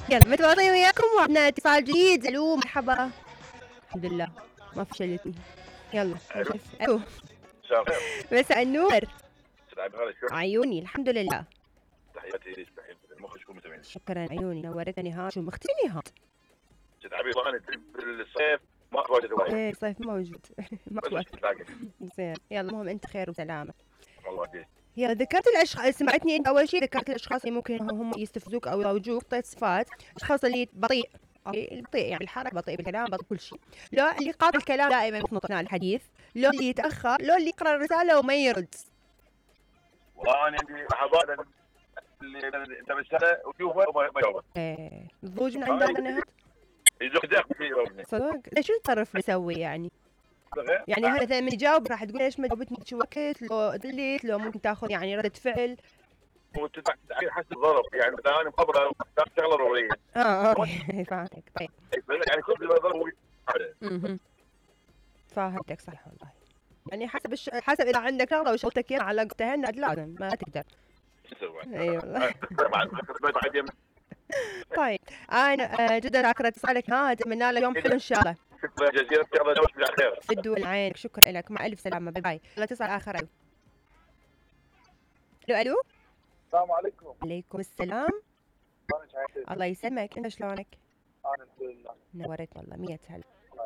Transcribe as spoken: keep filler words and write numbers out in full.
يلا متواصلين وياكم وعندنا اتصال جديد. الو مرحبا. الحمد لله ما فشلتني. يلا الو الو مساء الخير. مساء النور. سعد بخير شو عيوني الحمد لله. تحياتي ليش تحياتي المخرج كل متابعين. شكرا عيوني نورتني. ها شو مختني نهاد سيد عبيد والله انا بالصيف ما اتواجد وايد. ايه صيف موجود ما بس وقت. تلاقي زين يلا المهم انت خير وسلامه. والله دي. يا ذكرت الاشخاص سمعتني انت اول شيء ذكرت الاشخاص اللي ممكن هم يستفزوك او يروجوك طيب صفات الاشخاص اللي بطيء اوكي البطيء يعني الحركه بطيء بالكلام بطيء كل شيء. لو اللي قاطع الكلام دائما يخنط اثناء الحديث. لو اللي يتاخر. لو اللي يقرا الرساله وما يرد. والله انا عندي لحظات اللي انت بالسنه وشوفه وما يجاوب. ايه الضوج من عند النهار يزق دق في يومني. صدق شو التصرف بيسوي يعني؟ يعني هذا مثلا من يجاوب راح تقول ليش ما جاوبتني شو وقت لو دليت لو ممكن تاخذ يعني ردة فعل. وتدفع حسب الظرف يعني مثلا انا مخبره شغله ضروريه. اه اه فاهمك. طيب يعني كل ظرف اها فاهمتك صح والله. يعني حسب الش... حسب اذا عندك شغله وشغلتك على وقتها لازم ما تقدر. اي والله. طيب انا جدا شاكره اتصالك. ها اتمنى لك يوم حلو ان شاء الله. شكرا جزيلا يلا نوش بالخير. في الدول عينك. شكرا لك مع الف سلامه. باي باي. لا تصل اخر. الو الو الو السلام عليكم. عليكم السلام. شلونك عايشة؟ الله يسلمك. انت شلونك؟ انا الحمد لله. نورت والله. مية هلا.